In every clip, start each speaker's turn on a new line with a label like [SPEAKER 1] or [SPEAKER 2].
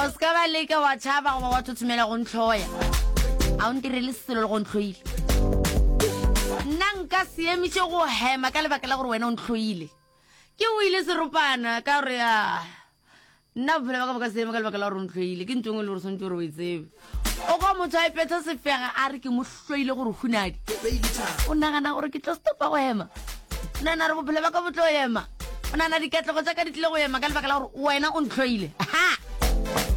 [SPEAKER 1] O se ka ba leka wa tšhaba goba wa thothomela go ntlhoya. A o ntirele selo le go ntlhoile. Nna nka se emiše go hema ka lebaka la gore wena o ntlhoile. Ke o ile seropana ka gore a nna bophelo ba ka bo ka se eme ka lebaka la gore o ntlhoile. Ke ntho e nngwe le gore swantse gore o e tsebe. O kwa motho a ipetsa sefega a re ke mo hloile gore hunadi. O nagana gore ke tlo stopa go ema? O nagana gore bophelo ba ka bo tlo ema? O nagana dikatlego tša ka di tlile go ema ka lebaka la gore wena o ntlhoile? Ha!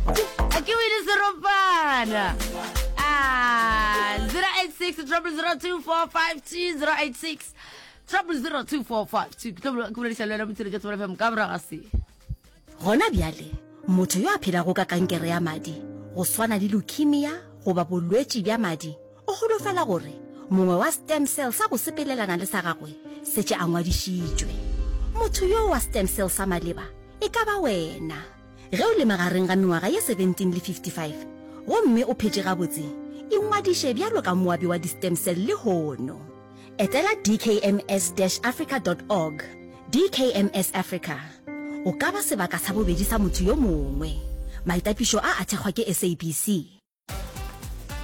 [SPEAKER 1] A ke o ile seropana. Ah, 086 0002452 086 0002452 ke tlo ke bolediša le wena motšheletša Thobela FM ka morago ga se.
[SPEAKER 2] Gona bjale, motho yo a phelago ka kankere ya madi, go swana le leukemia goba bolwetši bja madi, o holofela gore mongwe wa stem cell sa go sepelelana le sa gagwe setše a ngwadišitšwe. Motho yo wa stem cell sa maleba e ka ba wena. Ge o le magareng ga mengwaga ye 17 le 55 gomme o phetše gabotse, ingwadiše bjalo ka moabi wa di-stem cell lehono. Etela dkms-africa dot org, DKMS Africa. O ka ba sebaka sa bobedi sa motho yo mongwe. Maitapišo a a thekgwa ke SABC.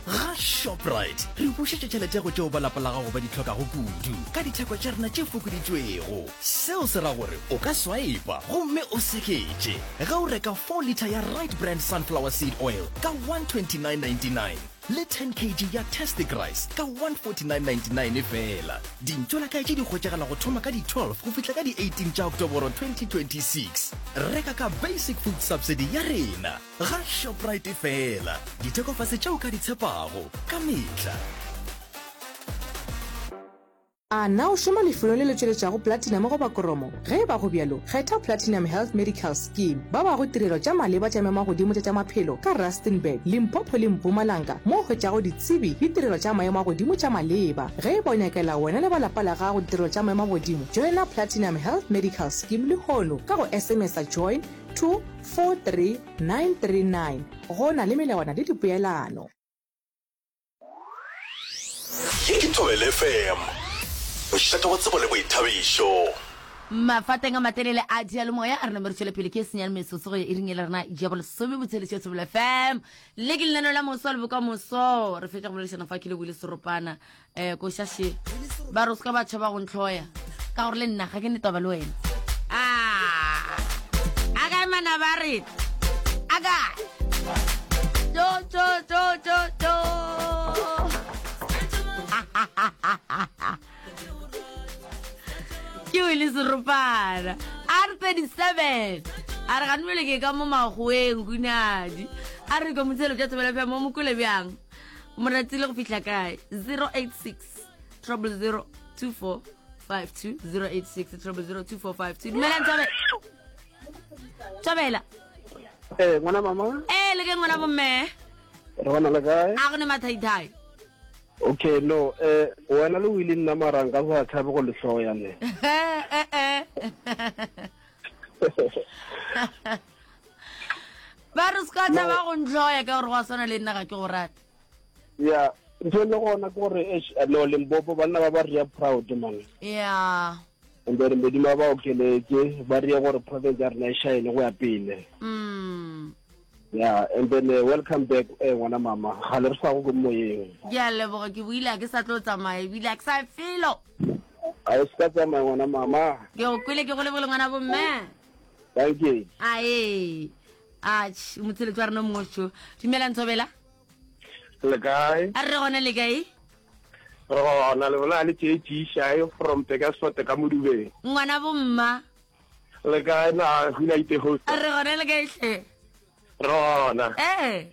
[SPEAKER 3] Ga Shoprite re bušetša tšhelete go tšeo ba lapa la gago ba di hlokago kudu ka ditheko tša rena tše fokoditšwego. Seo se ra gore o ka swipa gomme o seketše ge o reka 4 litre ya Right Brand Sunflower Seed Oil ka 129.99. Le 10 kg ya Tastic Rice ka 149.99 feela. Dintšolakae tše di hwetšagala go thoma ka di 12 go fihla ka di 18 tša Oktoboro 2026. Reka ka Basic Food Subsidy ya rena ga Shoprite feela. Dithekofase tše o ka di tshepago ka mehla.
[SPEAKER 4] A na o šoma lefelong le le tšweletšago platinum goba koromo? Ge e ba go bjalo, kgetha Platinum Health Medical Scheme. Ba bago tirelo tša maleba tša memagodimo tša tša maphelo ka Rustenburg, Limpopo le Mpumalanga mo o hwetšago ditsebi le tirelo tša maemo a godimo tša maleba. Ge e ba o nyakela wena le ba lapa la gago ditirelo tša maemo a godimo, joina Platinum Health Medical Scheme lehono ka go SMS-a join to 43939. Go na le melawana le dipoelano.
[SPEAKER 3] Ye ke Thobela FM, mošate wa tsebo le boithabišo.
[SPEAKER 1] Mafateng a matelele a diyalemoya a re name re tšwele pele ke senyane metsotso go ya iring e le rena ya bolesome botsheletše Thobela FM. Le ke lenaneo la moso le bokamoso. Re fetša go boledišana fa ke le buile seropana. um koša še ba re o se ka ba tšhaba go ntlhoya ka gore le nna ga ke ne taba le wena a a kae manaba a rena a kae tso tso tso tso tso ke o le seropana a re 37 a re ganobele ke ka mo magoeng kunadi a re ka motshelo tša thobela bjang mo mokole bjang Moratile go fihla kae 086 000 2452 086 000 2452 dumelang tsobe tsobela
[SPEAKER 5] Eh, ngwana mama.
[SPEAKER 1] Eh, le ke ngwana bomme.
[SPEAKER 5] Re bona le kae?
[SPEAKER 1] A go ne mathaithai.
[SPEAKER 5] Okay, no, eh wena le o ile nna mara nka sa tshabe go le hloya ne.
[SPEAKER 1] Eh eh. Ba re se ka tšhaba go ntlhoya ka gore go a swana le nna ga ke go rate.
[SPEAKER 5] Ya, ntho e le gona ke gore eish, no Limpopo banna ba ba ria proud man.
[SPEAKER 1] Ya.
[SPEAKER 5] And then Modimo a ba okeletse ba rie gore province ya rena e shine go ya pele.
[SPEAKER 1] Mm.
[SPEAKER 5] Yeah, and then uh, welcome back eh ngwana mama. Ga le re sa go ko moyeng.
[SPEAKER 1] Ke a leboga ke boile a ke sa tlo tsamaya ebile a ke sa felo.
[SPEAKER 5] A o se ka tsamaya ngwana mama.
[SPEAKER 1] Ke go kwele ke go lebogile ngwana bomme.
[SPEAKER 5] Thank you.
[SPEAKER 1] Ae. Atjhe, motsheletso wa rena o mongwe sho. Dumela Ntshobela.
[SPEAKER 6] Le kae?
[SPEAKER 1] A re gona le kae?
[SPEAKER 6] Re gona le bolela le JG Shae from Pekersfort ka Modubeng.
[SPEAKER 1] Ngwana bomma.
[SPEAKER 6] Le kae na hula ite host?
[SPEAKER 1] A re gona le kae hle?
[SPEAKER 6] Re gona.
[SPEAKER 1] Eh.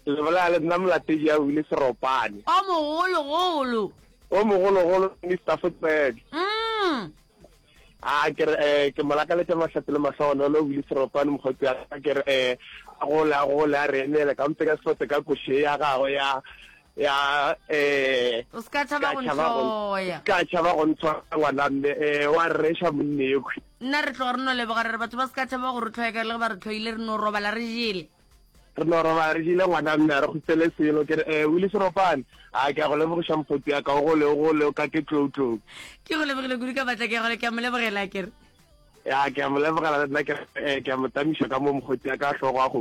[SPEAKER 6] Le bolela le nna molatedi ya wile Seropane.
[SPEAKER 1] O mogologolo.
[SPEAKER 6] O mogologolo Mr. Footbed.
[SPEAKER 1] Mm.
[SPEAKER 6] A ke re eh ke mo lakaletša mahlatse le mahlogonolo o bile seropane mokgotsi wa ka ke re eh a gole a gole a re emele ka mpe ka sefote ka koše ya gagwe ya ya eh
[SPEAKER 1] O se ka tšhaba go ntlhoya.
[SPEAKER 6] ka tšhaba go ntshwara ngwana mme eh wa rreša monnekhwi
[SPEAKER 1] Nna re tloga re no leboga re re batho ba se ka tšhaba go re tlhoya ka le ge ba re tlhoile re no robala re jele.
[SPEAKER 6] Re no robala re jele ngwana mme a re kgopele selo ke re eh Willie Seropane a ke a go lebogiša mokgotsi ya ka o gole o gole o ka ke tlou tlou.
[SPEAKER 1] Ke go lebogile kudu ka matla ke gole ke a mo lebogela ke re.
[SPEAKER 6] Ya ke a mo lebogela le nna ke re eh ke a mo tamiša ka mo mokgotsi ya ka hlogo a go.